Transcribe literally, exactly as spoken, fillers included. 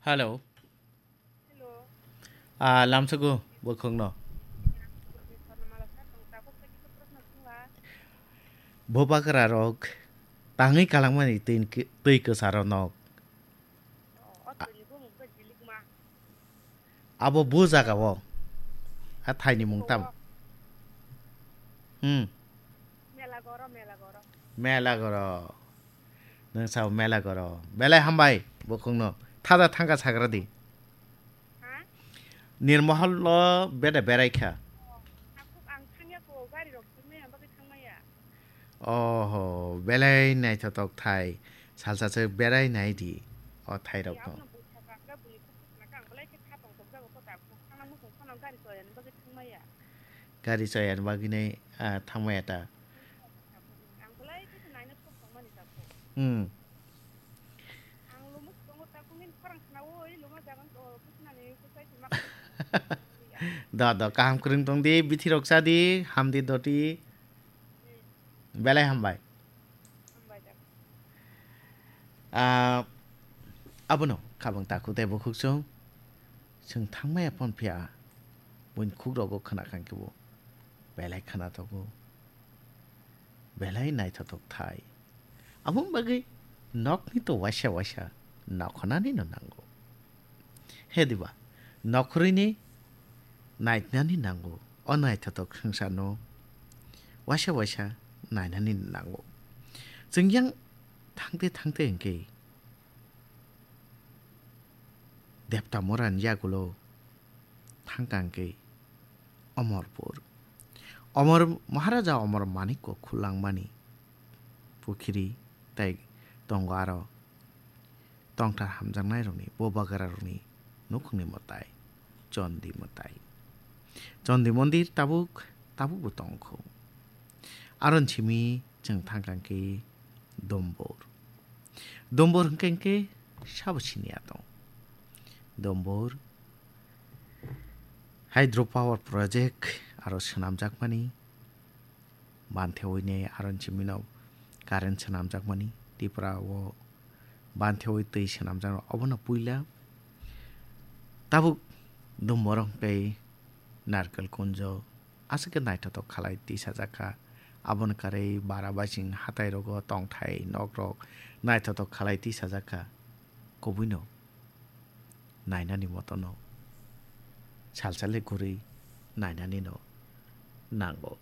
Hello. Hello. Ah, lamsogo bokhokno. Sorno mala sir, tong tabuk tei kisa proshno thungla. Bo bagra rok tangwi kalangmani twi, twi kwcharo nok. O, o twi ni bumung khe jilikma. Abo bo jaga o. A thaini mung tam. O. Hmm. Mela goro, mela goro. Mela goro. Nwng sao mela goro. Belai hambai, bokhokno. Thada thangka sagra di. Ha? Nirmohol lo beda berai kha. O, takhuk ang thangya ko, gari rok thangmaya, bagwi thangmaya. Oho, belai naithotok thai. Salsa se berai nai di. O thai rok no. Aboni busa kakra buni khuk khuk na kang, belai khe kha tong tok jago ko takhuk. Thangna muchung phano gari soyani bagwi thangmaya. Gari soyani bagwi nai, ah, thangmaya ta. Ang belai khe naina sok tongmani takhuk. Hmm. Ang lumo tongo takhuk nini khorang khna o, i luma jagan to, kusinani kusai sima. Da, da, kaham kwrwng tong di, bithi rok cha di, ham di doti. Hmm. Belai hambai. Hambai da. Ah, abono khabang takhuk tei bukhuk chwng. Chwng thangmaya phone phiya, buini khuk rogo khna khan khe bo belai khna thogo. Belai naithothok thai. Aboni bagwi nokni to waisa waisa nokhornani no nango. He diba, nokhorwini naitnani nango. O naithothok swngcharno waisa waisa nainani nango. Chwng yang thangte thangte hwnkhe Deptamorani yagulo thangkha hwnkhe Omorpur. Omor, Maharaja Omor Manikko khulangmani pukhiri tei tongo aro tongthar hamjaknairokni bo bagrarokni nukhungni mwtai, Chondi mwtai. Chondi mondir tabuk, tabukbo tongkho. Aron simi chwng thangkha hwnkhe Dombor. Dombor hwnkhe hwnkhe sabo siniya tong. Dombor hydro power project aro swnamjakmani, bantheoini aron simino current swnamjakmani, Tripura o bantheoi twi swnamjakno obono puila. Tabuk Dombor hwnkhe Narkel Kunjo, aswk khe naithothok khalai tisajakha. Aboni karwi bara baising hatairogo tongthai nokrok naithothok khalai tisajakha. Kubuino nainani motono salsale kwrwi nainanino nango.